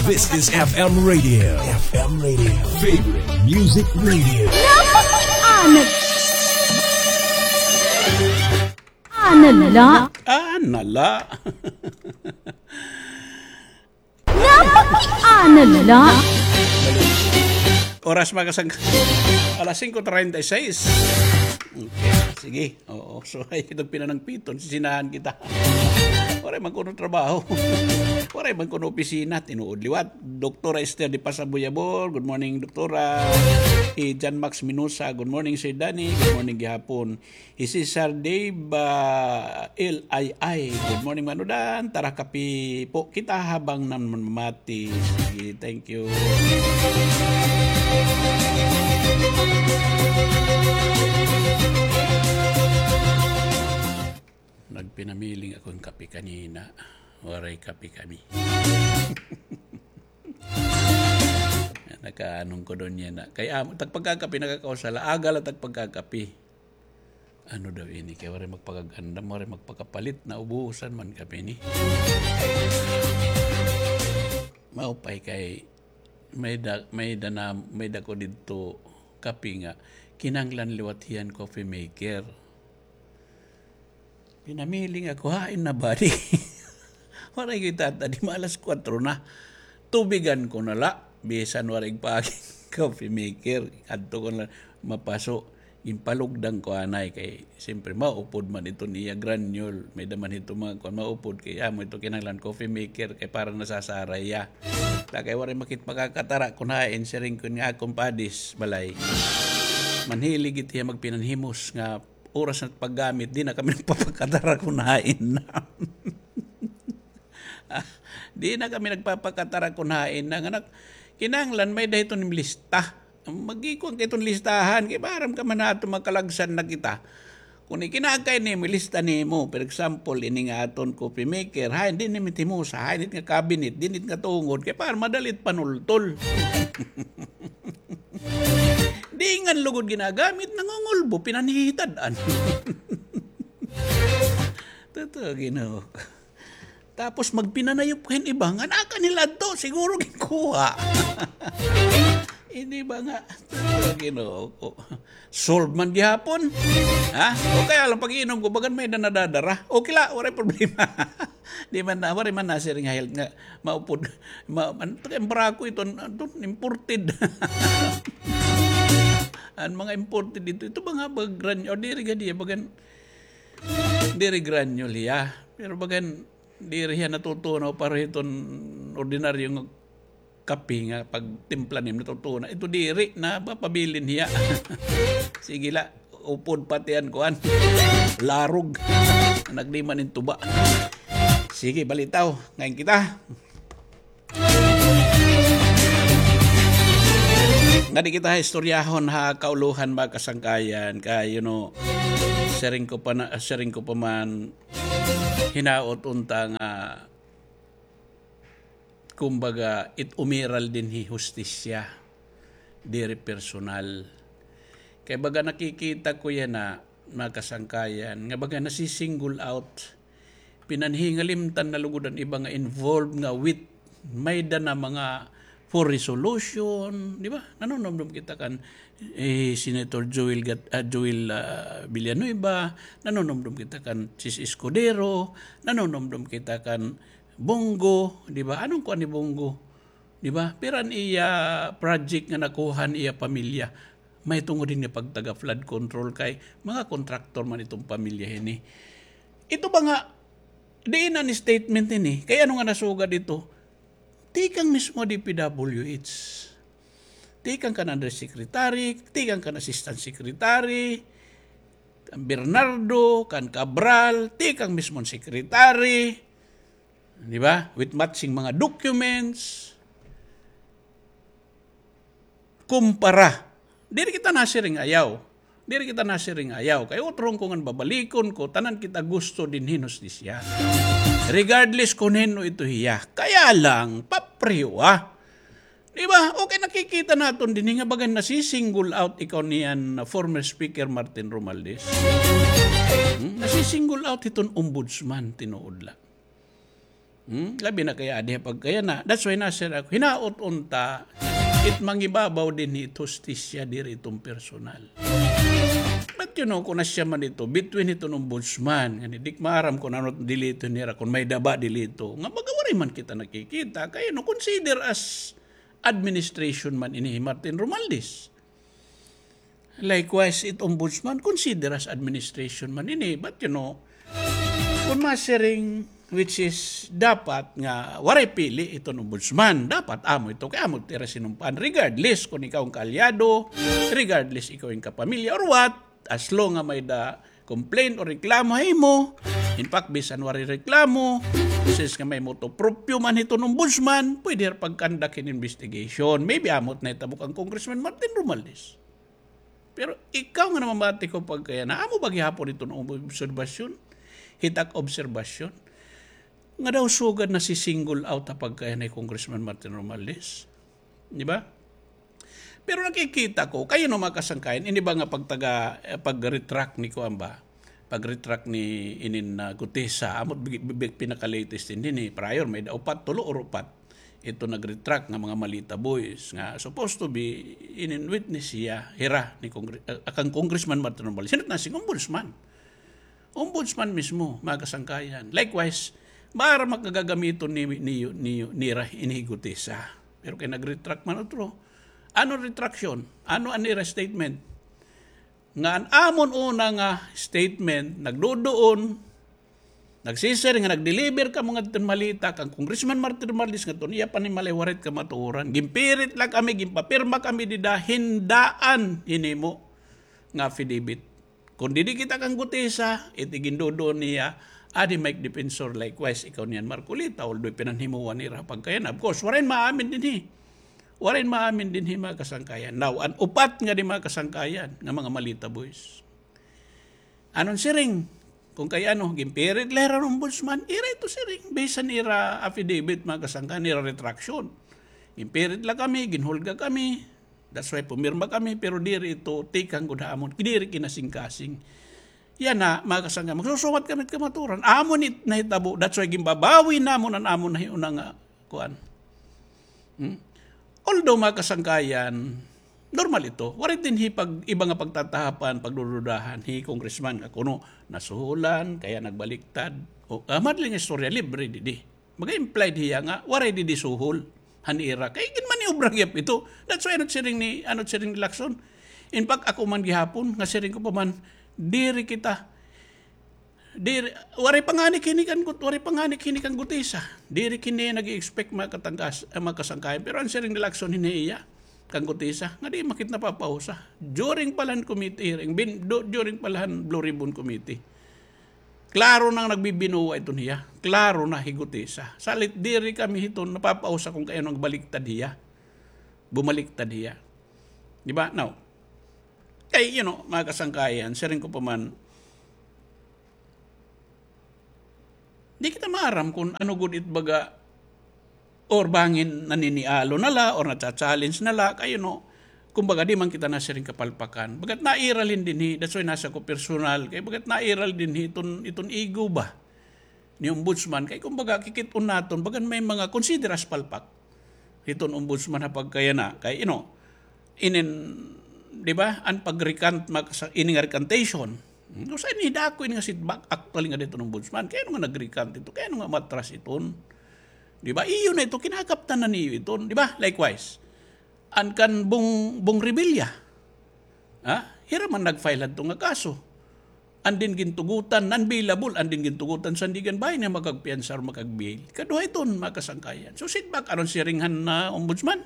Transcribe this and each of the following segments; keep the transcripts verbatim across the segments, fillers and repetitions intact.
This is F M Radio. F M Radio. Favorite music radio. Napaki-, ano? Ano la? Ano la? Napaki-, ano la? Oras, mga kasang-, alas singko treinta y seis. Okay, sige. Oo, so, ay, itong pinanangpiton, sisinahan kita. Waray man kuno trabaho. Waray man kuno opisina, tinuod liwat. Doktora Esther de Paz Abuyabor, good morning, Doktora. Hi John Max Minosa, good morning, Sir Danny. Good morning gihapon. Hi Cesar Dave, ah, L I I, good morning, Manodan. Tara, kape po kita habang namamati. Sige, thank you. Nagpinamiling ako hin kape kanina. Waray kape kami. Nakaanong ko doon yan na. Kay amo, tagpagkakape, nakakausa la. Aga la tagpagkakape. Ano daw ini? Kay waray magpakagandam, waray magpakapalit, naubusan man kape ini. Maupay kay may da, may da na, may da ko didto kape nga kinahanglan liwat hiya hin coffee maker. Pinamiling ako, hain na ba di? Waray kita, di ma alas kwatro na. Tubigan ko na la, bisan waray pa coffee maker. Adto ko na mapaso. Ginpalugdan ko anay kay, siyempre, maupod man iton iya granule. May da man hito mga kuan, maupod kay, amo ito kinahanglan coffee maker kay para nasasaray ya. Ta kay waray makit makakatara kun hain, siring ko nga akon padis, balay. Manhilig it hiya magpinanhimos nga oras na paggamit, di na kami nagpapakatara kun hain na. Ah, di na kami nagpapakatara kun hain na. Nga nak-, kinahanglan may da hiton lista. Magikuan ka hiton listahan. Kay maaram ka man ato makalagsan na kita. Kun ikinakay nimo, ilista nimo. For example, ini nga aton coffee maker. Hain, di nimo timo sa hain, it nga cabinet, dinit nga tungod. Kay para madalit panultol. Di ngan lugod ginagamit, nangungulbo, pinanhihitad-an. Totoo, Ginoo ko. Tapos magpinanayop hin iba nga naa kanila adto, siguro ginkuha. Ini ba nga, totoo, Ginoo ko. Solve man gihapon. Ha? O kaya lang pag-iinom ko, bagan may da nadadara. Okay la, waray problema. Di man na, waray man nasiring nga health nga maupod. Ma, an, an barako ito, an, ito, imported. An mga imported ito, ito ba nga ba gran-, o diri gad hiya, bagan, diri granule hiya. Pero bagan, diri hiya natutunaw para hiton ordinaryo nga kape nga pagtimpla nimo natutunaw. Ito diri, napapabilin hiya. Sige la. Upod pati an kuan. Larog. Nagdima nin tuba. Sige, balitaw. Ngayon kita. Ngadi kita istoryahon ha kaulohan, mga kasangkayan. Kay, you know, siring ko pa na, siring ko pa man, hinaot unta nga kumbaga, it umiral dinhi hustisya, diri personal. Kay baga nakikita ko yana, mga kasangkayan, nga baga nasi-single out, pinanhingalimtan na lugod an iba nga involved nga with, may da na mga for resolution, di ba? Nanunumdom kita kan, eh, Senator Joel Gat-, ah, Joel, ah, Villanueva, nanunumdom kita kan Chiz Escudero, nanunumdom kita kan Bong Go, di ba? Anong kuan ni Bong Go? Di ba? Pira an iya project nga nakuha han iya pamilya. Mahitungod hini pagtaga flood control kay mga kontraktor man iton pamilya hini. Ito ba nga, diin an statement hini? Kay ano nga nasugad ito? Tikang mismo D P W H. Tikang kan undersecretary, tikang kan assistant secretary, kan Bernardo, kan Cabral, tikang mismon secretary. Di ba? With matching mga documents. Kumpara. Diri kita nasiring ayaw. Diri kita nasiring ayaw. Kay utron ko ngan babalikon ko, tanan kita gusto dinhi hin hustisya. Regardless kun hin-o ito hiya. Kaya lang, papriwa. Di ba? Okay, nakikita naton dinhi nga bagan nasi-single out ikaw niyan, former Speaker Martin Romualdez. Hmm? Nasi-single out hiton ombudsman, tinuod la. Hmm? Labi na kay adi ha pagkayana. That's why nasir ako. Hinaot unta, it mangibabaw dinhi it hustisya, diri iton personal. But you know, kon asya man ito, between iton ombudsman, nga di maaram kon ano it delito nira, kon may-ada ba delito. Nga baga waray man kita nakikita. Kay, you know, consider as administration man ini hi Martin Romualdez. Likewise, it ombudsman, consider as administration man ini. But, you know, kon masiring, which is dapat nga waray pili iton ombudsman, dapat amo ito, kay amo it ira sinumpaan, regardless kon ikaw an kaalyado, regardless ikaw an kapamilya, or what, as long nga may-ada complaint o reklamo ha imo. In fact, bisan waray reklamo, since nga may motu proprio man hiton ombudsman, pwede hira pag-conduct hin investigation. Maybe amo it nahitabo kan Congressman Martin Romualdez. Pero ikaw nga namamati ko pagkayana, amo ba gihapon iton obserbasyon? Hit ak obserbasyon. Nga daw sugad nasi-single out ha pagkayana hi Congressman Martin Romualdez. Di ba? Pero nakikita ko, kay, you know, mga kasangkayan, ini ba nga pagtaga, eh, pag-retract ni kuan ba? Pag-retract ni inin, ah, Gutesa, amo bi-, bi-, bi-, pinaka-latest ini, ni prior, may-ada upat, tulo or upat. Ito nag-retract nga mga Malita boys, nga supposed to be inin witness hiya, hira, ni Congre-, ah, kang Congressman Martin Romualdez. Sino na si Ombudsman? Ombudsman mismo, mga kasangkayan. Likewise, maaram nga gagamiton ni, ni, ni, nira ini hi Gutesa. Pero kay nag-retract man utro. Ano retraction? Ano an ira statement? Nga an amon una nga statement, nagduduon, nagsisiring nga nag-deliver kamo ngadton Malita, kang Congressman Martin Romualdez ngadton iya panimalay waray it kamatuoran. Ginpirit la kami, ginpapirma kami dida, hin daan hinimo nga affidavit. Kon didi kita kang Gutesa, it iginduduon niya, adi Mike Defensor, likewise, ikaw niyan Marcoleta, although pinanhimuan nira pagkayana. Of course, waray maamin dinhi. Waray maamin dinhi, mga kasangkayan. Now, an upat nga di, mga kasangkayan, nga mga Malita boys. Anon siring? Kon kay ano, ginpirit la hira han ombudsman, ira ito siring, based han ira affidavit, mga kasangkayan, ira retraction. Ginpirit la kami, ginhulga kami, that's why pumirma kami, pero diri ito tikang gud ha amon, diri kinasingkasing. Yana, mga kasangkayan, magsusumat kami hit kamatuoran. Amo ni nahitabo, that's why ginbabawi namon an amon nahiuna nga kuan. Hmm? Although, mga kasangkayan, normal ito. Waray dinhi pag-, iba nga pagtatahapan, pagdududahan hi Congressman nga kuno nasuhulan, kaya nagbaliktad. O, ah, madali nga istorya, libre didi. Maga-implied hiya nga waray didi suhol han ira. Kay ginmaniobra gihap ito. That's why ano siring ni, ano siring ni Lacson. In fact, ako man gihapon, nga siring ko pa man, diri kita, diri, waray panganik hini kan Gut-, waray panganik hini kan Gutesa. Diri kini nag-expect, mga katangkas-, ah, mga kasangkayan. Pero an siring ni Lacson hini iya, kan Gutesa, nga di makit napapausa. During pa la han committee hearing, bin-, du-, during pa la han Blue Ribbon Committee. Klaro na nga nagbibinuwa iton hiya. Klaro na hi Gutesa. Salit diri kami hiton napapausa kon kay ano nga baliktad hiya. Bumaliktad hiya. Di ba? Now, kay, you know, mga kasangkayan, siring ko pa man, di kita maaram kon ano gud it baga or bangin naninialo na la, or nacha-challenge na la, kay, you know, kumbaga, di man kita nasiring kapalpakan. Baga't nairal hin dinhi, that's why nasa ko personal, kay baga't nairal dinhi iton, iton ego ba ni ombudsman, kay kumbaga, kikit-on naton, bagan may mga consider as palpak hiton ombudsman ha pagkayana, kay, you know, inin, di ba, an pag-recant, mag-, sa, ini nga recantation. Hmm, usa ini dako ini nga setback, actually, nga didto hin ombudsman. Kay ano nga nag-recant ito? Kay ano nga matras iton? Di ba? Iyo na ito, kinakaptan na niyo iton. Di ba? Likewise, an kan Bong, Bong Revilla. Ha? Hira man nag-file hadto nga kaso. An din gintugutan, non-bailable, an din gintugutan Sandiganbayan nga makagpiyansa or makag-bail. Kaduha iton, mga kasangkayan. So, setback, aron siring han, ah, ombudsman.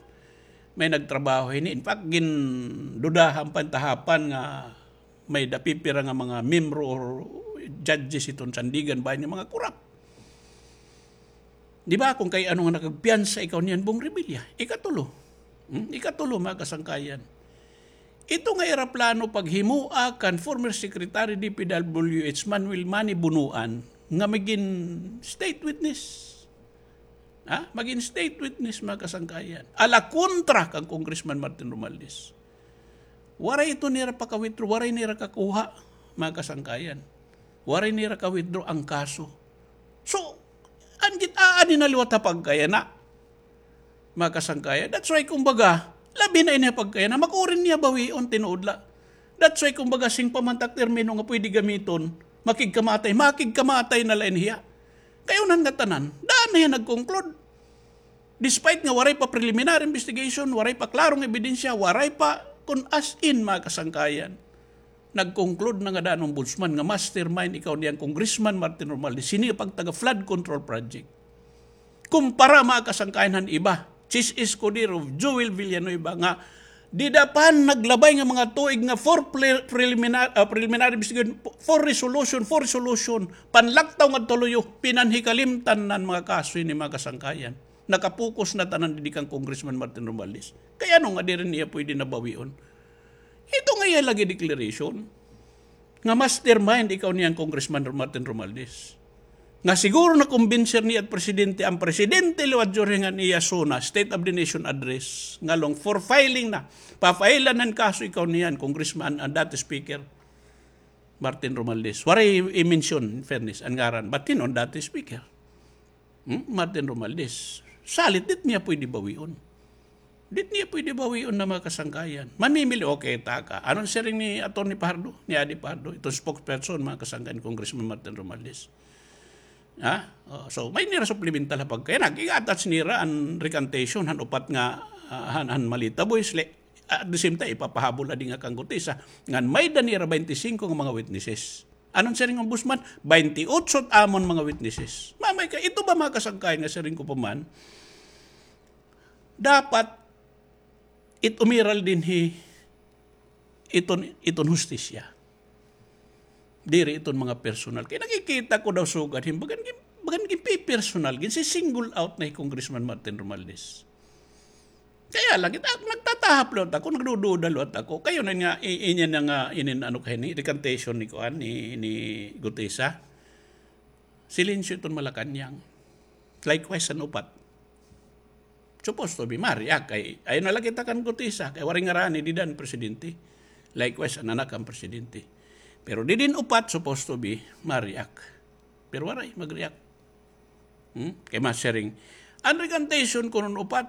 May nagtrabaho hini. In fact, gindudahan pa hin tahapan nga may-ada pipira nga mga miyembro or judges hiton Sandiganbayan nga mga korap. Di ba, kon kay ano nga nakagpiyansa ikaw niyan, Bong Revilla? Ikatulo. Hmm? Ikatulo, mga kasangkayan. Ito nga ira plano paghimoa kan former Secretary D P W H Manuel Manny Bonoan nga magin state witness. Ha? Magin state witness, mga kasangkayan. Ala kontra kang Congressman Martin Romualdez. Waray ito nira paka-withdraw, waray nira kakuha, mga kasangkayan. Waray nira ka-withdraw an kaso. So, An git-aadi na liwat ha pagkayana, mga kasangkayan. That's why, kumbaga, labi na ini ha pagkayana, makuri niya bawion, tinuod la. That's why, kumbaga, sing pa man tak termino nga pwede gamiton, makigkamatay, makigkamatay na la ini hiya. Kay unan nga tanan, daan na hiya nag-conclude. Despite nga waray pa preliminary investigation, waray pa klarong ebidensya, waray pa, kun as in, mga kasangkayan. Nag-conclude na nga daan, Ombudsman, nga mastermind ikaw niyan, Congressman Martin Romualdez, hini pagtaga flood control project. Kumpara, mga kasangkayan, han iba, Chiz Escudero, Joel Villanueva, nga dida pa han naglabay nga mga tuig nga for pre-, preliminary, ah, preliminary investigation, for resolution, for resolution, panlaktaw ngadto ha luyo, pinanhikalimtan na an mga kaso hini, mga kasangkayan. Nakapokus na tanan didi kan Congressman Martin Romualdez. Kay ano nga diri niya pwede na bawion? Ito nga iya lagi declaration nga mastermind ikaw niyan, Congressman Martin Romualdez. Nga siguro nakumbinser niya it presidente, an presidente liwat during an iya SONA, State of the Nation Address, ngan long for filing na, pa-file-an han kaso ikaw niyan, Congressman, an dati speaker, Martin Romualdez. Waray i-mention, in fairness, an ngaran, but hin-o an dati speaker. Hmm? Martin Romualdez. Salit, di niya pwede bawion. Di niya pwede bawion na, mga kasangkayan. Mamimili, okay, taka. Ano an siring ni Attorney Fajardo, ni Adi Fajardo, iton spokesperson, mga kasangkayan, Congressman Martin Romualdez? Ha? Oh, so, may nira supplemental ha pagkayana. Ig-attach nira an recantation han upat nga, ah, han, han Malita Boys. Le-, at the same time, ipapahabol adi nga kan Gutesa. Ngan may-ada nira twenty-five nga mga witnesses. Ano an siring han Ombudsman? Twenty-eight it amon mga witnesses. Mamay ka, ito ba, mga kasangkayan, nga siring ko pa man? Dapat it umiral dinhi iton, iton hustisya. Diri iton mga personal. Kay nakikita ko daw sugad hin, bagan gin-, bagan ginpi-personal, ginsi-single out na hi Congressman Martin Romualdez. Kaya la, kita, nagtatahap liwat ako, nagdududa liwat ako. Kay unan nga, i-, inya na nga, inin ano kay ni, recantation ni kuan, ni, ni Gutesa. Silensyo iton Malacañang. Likewise, an upat. Supposed to be, ma-react. Kay, ayaw na la kita kan Gutesa. Kay waray ngaran ni dida an presidente. Likewise, an anak han presidente. Pero didi an upat, supposed to be, ma-react. Pero waray, mag-react. Hmm? Kay masiring. An recantation kuno han upat,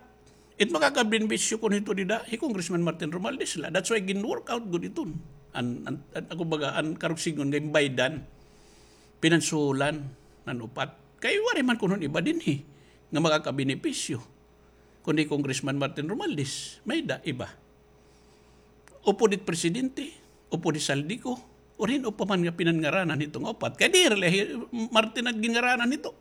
it makakabenebisyo kuno hito dida, hi Congressman Martin Romualdez la. That's why gin-work out gud iton. An, an, an, kumbaga, an karuyag sidngon nga baydan, pinansulan, an upat. Kay waray man kuno han iba dinhi nga makakabenepisyo. Kundi Congressman Martin Romualdez, may-ada iba. Upod it presidente, upod it Zaldy Co, or hin-o pa man nga pinangaranan hito nga upat. Kay diri la hi Martin an ginngaranan hito.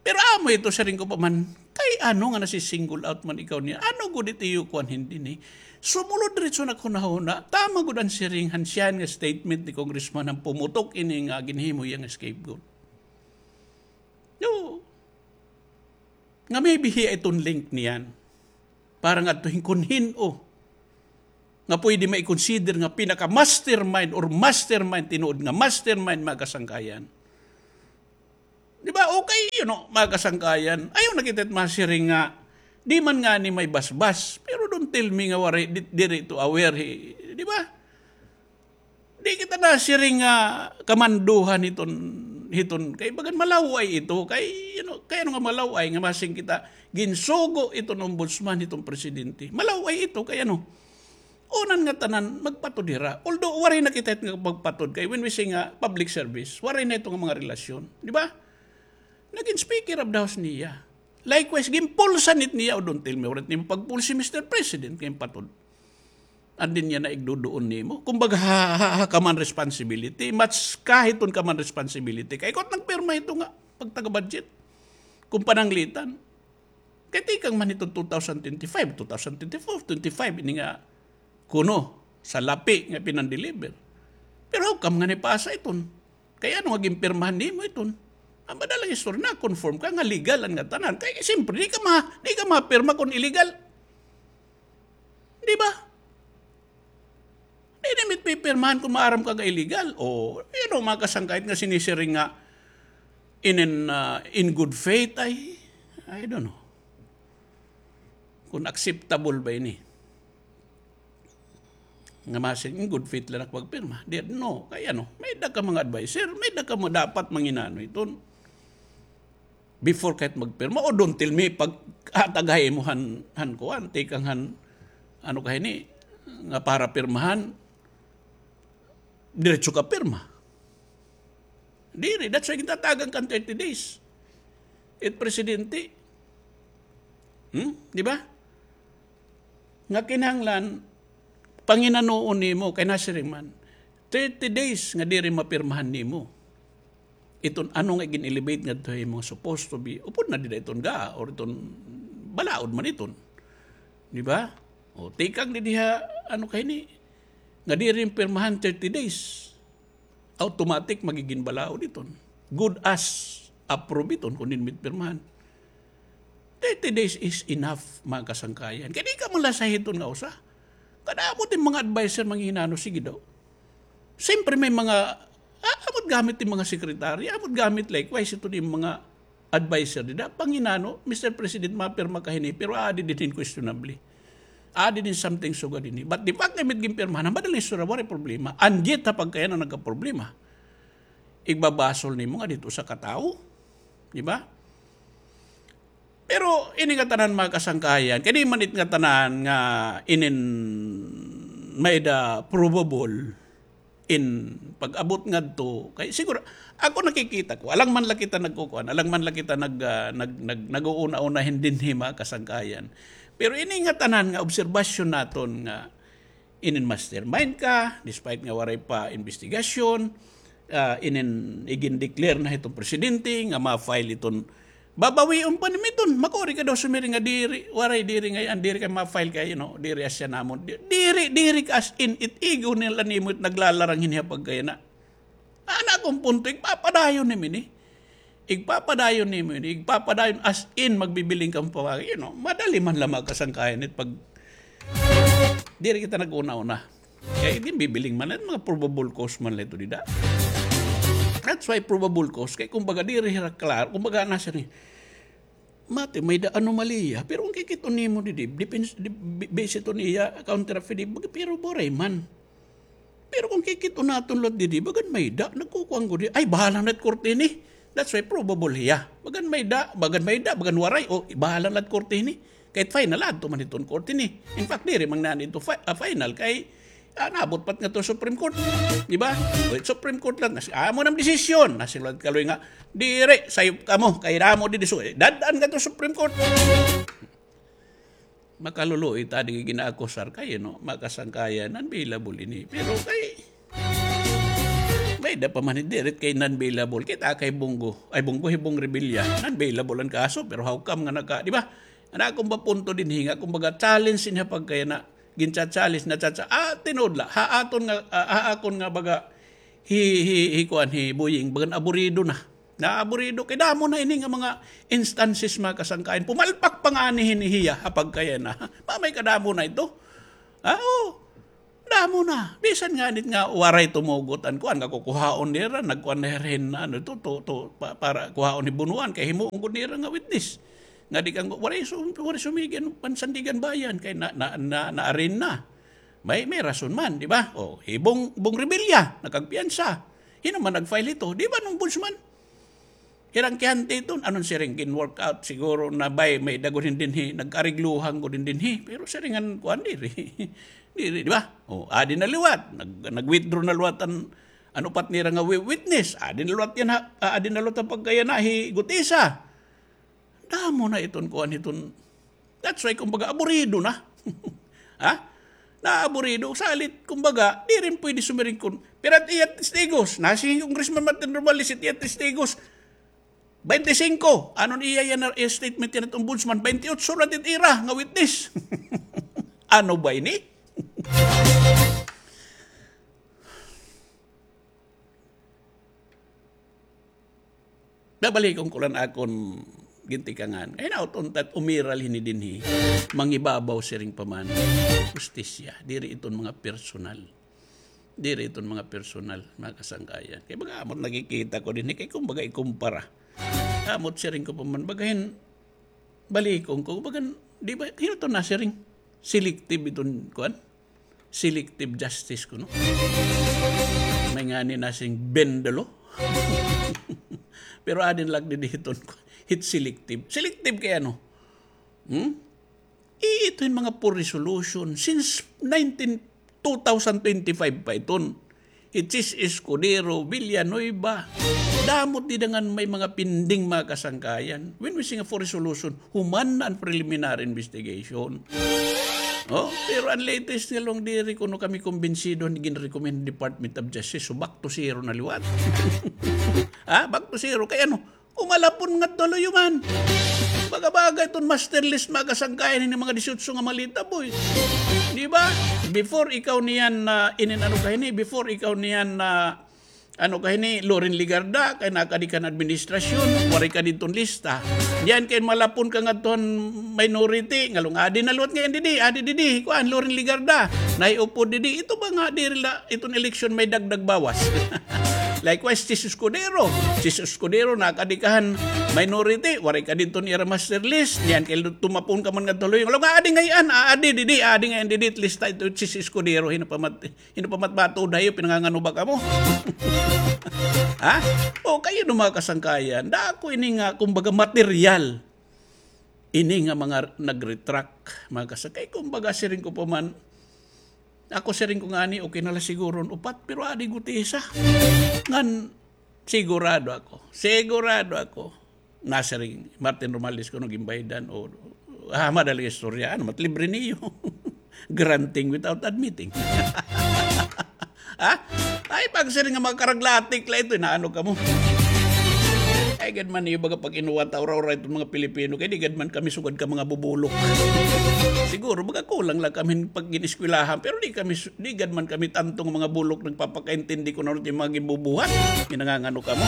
Pero amo ito, siring ko pa man, kay ano nga nasi-single out man ikaw niya? Ano gud it iyo kuan, hindi ni? Sumulod diretso na hunahuna, tama gud an siring han siyahan nga statement ni Congressman han pumutok ini nga ginhimo hiya nga scapegoat. No. Nga maybe hiya iton link niyan. Para ngadto hin kun hin-o nga pwede mai-consider nga pinaka-mastermind or mastermind, tinuod nga mastermind, mga kasangkayan. Di ba? Okay, you know, mga kasangkayan. Ayaw na kita masiring nga, di man ngani may basbas. Pero don't tell me nga waray, di, diri ito aware, eh. Di ba? Di kita nasiring nga kamandohan hiton, hiton, kay bagan malaw-ay ito, kay, you know, kay ano nga malaw-ay nga masiring kita, ginsugo iton ombudsman hiton presidente. Malaw-ay ito, kay ano, unan nga tanan, magpatod hira. Although, waray na kita nga magpatod, kay when we say nga public service, waray na ito nga mga relasyon. Di ba? Naging Speaker of the House niya. Likewise, ginpulsan it niya, o don't tell me, waray nimo pagpulsi, Mister President, kay patod. An dinhi niya na igduduon nimo. Kumbaga, ha, ha, ha, common responsibility. Mas kahit on common responsibility. Kay ikaw it nagpirma hito nga pagtaga-budget. Kung pananglitan. Kay tikang man hito two thousand twenty-five, two thousand twenty-four, twenty-five, ini nga kuno, salapi nga pinandeliver. Pero how come nga nipasa iton? Kay ano nga ginpirmahan nimo iton? An madalang istorya, na-confirm ka nga legal an ngatanan. Kay siyempre, di ka ma-, di ka mapirma kung illegal. Di ba? Di na mit pipirmahan kung maaram ka nga illegal. O, you know, mga kasangkay nga sinisiring nga in, in, ah, in good faith, ay, I don't know kung acceptable ba ini. Nga masiring, in good faith la nakapagpirma. Di, no, kay ano, may-ada ka mga adviser, may-ada ka mga dapat manginano iton. Before ka hit magpirma, o don't tell me pag-atag ha imo han, han kuan, tikang han, ano ka hini, nga para pirmahan, diretso ka pirma. Diri, that's why gintatagan ka hin thirty days. It presidente. Hmm? Di ba? Nga kinahanglan, panginanoon nimo, kay nasiring man, thirty days nga diri mapirmahan nimo. Iton ano nga gin-elevate ngadto ha imo supposed to be, upod na dida iton ga, or iton balaod man iton. Di ba? O, tikang didi ha, ano ka hini, nga diri pirmahan thirty days. Automatic magigin balaod iton. Good as approve iton kun dinhi pirmahan. Thirty days is enough, mga kasangkayan. Kay di ka man la sahiton nga usa. Kadamo it mga adviser, manghinano, sige daw. Siyempre may mga, ah, amot gamit it mga sekretarya, amot gamit likewise iton mga adviser dida, panghinano, Mister President, mapirma ka hini, pero aadi dinhi hin questionable. Aadi dinhi hin something sugad dinhi. But the fact nga may it ginpirmahan, madaling istorya, waray problema. And yet, ha pagkayana nagkaproblema. Igbabasol nimo nga didto usa ka tawo. Di ba? Pero ini ngatanan, mga kasangkayan, kay di man it ngatanan nga inin may-ada probable in pag-abot ngadto. Kay siguro, ako nakikita ko, alang man la kita nagkukuan, alang man la kita nag, ah, nag, nag, nag-uuna-una hin dinhi, mga kasangkayan. Pero ini ngatanan nga obserbasyon naton nga inin mastermind ka, despite nga waray pa investigasyon, ah, inin igin-declare na hiton presidente nga ma-file iton, babawion pa nimo iton, makuri ka daw sumiring nga diri, waray, diri ngay-an, diri kay ma-file kay, you know, diri asya namon. Di-, diri, diri ka as in, it igo nila nimo it naglalarang hinhi ha pagkayana. Ana akon punto, igpapadayon nimo ini. Igpapadayon nimo ini. Igpapadayon as in magbibiling ka pa, you know, madali man la, mga kasangkayan, it pag diri kita nag-una-una. Kay ginbibiling man la, mga probable cause man la ito dida. That's why probable cause. Kay kumbaga diri hira klaro, kumbaga nasiring, mati, may-ada anomalya. Pero kung kikit-on nimo didi, depends, di, bi-, base ito niya, counter affidavit, pero waray man. Pero kung kikit-on naton liwat didi, bagan may-ada, nagkukuan gud hiya. Ay, bahala na it korte ini. That's why probable hiya. Bagan may-ada, bagan may-ada, bagan waray. O, bahala na it korte ini. Kay final, adto man hiton korte ini. In fact, diri man ngani ito fi-, ah, final kay, ah, naabot pa it ngadto Supreme Court. Di ba? O, it Supreme Court la, nas-, amo na an desisyon. Nasiring liwat Kaloy nga, diri, sayop kamo, kay damo didi. So, eh, dad-an ngadto Supreme Court. Makaluluoy ta, di gin-aakusar kay, no, mga kasangkayan, non-bailable ini. Pero kay, may-ada pa man, diri kay non-bailable. Kita kay Bong Go, ay, Bong Go, hi Bong Revilla, non-bailable an kaso, pero how come nga naka, di ba? An akon ba punto dinhi nga, kumbaga, challenge ini ha pagkayana, gincha-challenge, nacha-cha-, ah, tinuod la, ha aton nga, ah, ha akon nga baga, hi, hi, hi, kuan, hi Boying, bagan aburido na. Naaburido kay damo na ini nga mga instances, mga kasangkayan. Pumalpak pa ngani hini hiya ha pagkayana. Mamay kadamo na ito. Ah, oo. Damo na. Bisan ngani nga waray tumugot an kuan nga kukuhaon nira, nagkuan na hira hin, ano, to, to, to, pa-, para kuhaon ni Bunuan, kay himuon gud nira nga witness. Nga di kang, waray su-, waray sumigi an Sandiganbayan, kay na, na, na, na-arraign na. May, may rason man, di ba? O, hi Bong, Bong Revilla, nakagpiyansa. Hin-o man nag-file hito? Di ba an ombudsman? Hirang kiyante iton, anon siring, gin-work out siguro na bay, may-ada gud hin dinhi, nag-arigluhan gud hin dinhi. Pero siring an kuan diri. Diri, di ba? O, adi na liwat, nag-, nag-withdraw na liwat an, an upat nira nga wi-, witness. Adi na liwat yana, ah, adi na liwat ha pagkayana hi Gutesa. Damo na iton kuan hiton. That's why, kumbaga, aburido na. Ha? Naaburido. Salit, kumbaga, diri pwede sumiring kun pira it iya testigos. Nasiring hi Congressman Martin Romualdez, it iya testigos, baynte singko. Ano an iya yana, iya statement yana it ombudsman, baynte otso la it ira nga witness. Ano ba ini? Babalikon ko la an akon gintikangan. Kay hinaot unta it umiral hini dinhi, mangibabaw siring pa man. Hustisya, diri iton mga personal. Diri iton mga personal, mga kasangkayan. Kay baga amo it nakikita ko dinhi, kay kumbaga ikumpara. Amo it siring ko pa man, baga hin-, balikon ko, bagan, di ba, hin-o iton nasiring? Selective iton, kuan? Selective justice kuno. May ngani nasiring bend the law. Pero adi na la didi hiton, kuan? It's selective. Selective kay ano? Hmm? Ito hin mga poor resolution. Since nineteen, two thousand twenty-five pa iton. Hi Chiz Escudero, Villanueva. Damo it dida ngan may mga pending, mga kasangkayan. When we say nga poor resolution, human na an preliminary investigation. Oh, pero an latest nga la diri kuno kami kumbinsido hin gin-recommend Department of Justice. So, back to zero na liwat. Ha? Back to zero. Kay ano? Umalapon ngadto ha luyo man. Baga-baga iton master list, mga kasangkayan, hini mga disiotso nga maleta, boy. Di ba? Before ikaw niyan na inin ano ka hini, before ikaw niyan na ano ka hini, Loren Legarda, kay nakadi ka han administrasyon, waray ka didton lista. Niyan kay malapon ka ngadto han minority, ngalong adi na liwat ngay-an didi, adi didi, kuan, Loren Legarda, nahiupod didi, ito ba nga diri la iton eleksyon may dagdag bawas? Likewise, Chiz Escudero. Chiz Escudero, nakadi ka han minority, waray ka didton ira master list. Niyan kay tumapon ka man ngadto ha luyo. Ngalong adi ngay-an, adi didi, adi ngay-an didi, lista ito, Chiz Escudero, hin-o pa mat-, hin-o pa mat-, bato dayo, pinangangano ba kamo? Ha? O, kay ano, mga kasangkayan, dako ini nga, kumbaga, material. Ini nga mga nag-retract, mga kasangkayan, kumbaga, siring ko pa man, ako siring ko ngani, okay na la siguro an upat, pero adi gud isa. Ngan, sigurado ako, sigurado ako, nasiring Martin Romualdez kuno ginbayadan o, ah, madali istorya, ano, mat libre niyo. Granting without admitting. Ha? Ay, pagsiring nga mga karaglatik la ito, inaano kamo? Ay, gad man niyo baga pag-inuwat, aura-aura iton mga Pilipino, kay di gad man kami sugad ka mga bubulok. Siguro, baga kulang la kami pag-iniskwelahan, pero di kami su-, di gad man kami tanto nga mga bulok nagpapakaintindi kon ano it mga ginbubuhat. Ginangangano kamo.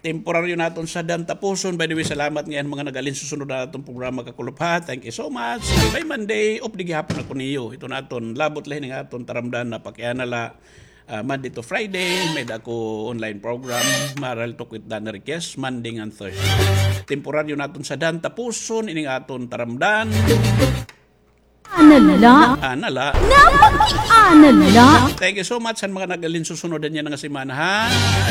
Temporaryo naton sadyan tapuson. By the way, salamat ngay-an mga nag-alin susunod ha aton programa, kakulop ha. Thank you so much. By Monday, off di gihapon ako niyo. Ito naton, labot la hini nga aton taramdan na pakiana la, ah, Monday to Friday, may-ada ako online program, Maral Talk with Danny Riquez, Monday ngan Thursday. Temporaryo naton sadyan tapuson, ini nga aton taramdan. Ana la. Ana la. Napakiana la. Thank you so much han mga nag-alin susunod niyan nga semana, ha.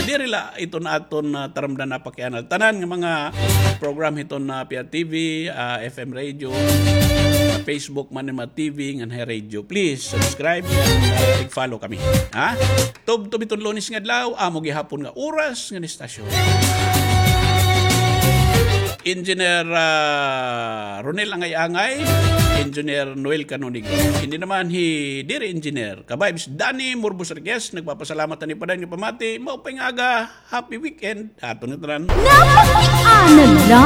Diri la iton aton, ah, taramdan na pakiana la. Tanan nga mga program hiton, ah, P R T V, ah, F M radio, ah, Facebook man, mga T V, ngan ha radio. Please subscribe and, ah, i-follow kami, ha. Tubtob hiton Lunes nga adlaw, amo gihapon nga oras ngan istasyon. Engineer, ah, Ronel Angay-Angay, Engineer Noel Canonigo. Ini naman hi diri Engineer, ka-vibes Danny Morbos Riquez, nagpapasalamat han ipadan nga pamati, maupay nga aga, happy weekend, aton nga tanan. Napakiana la.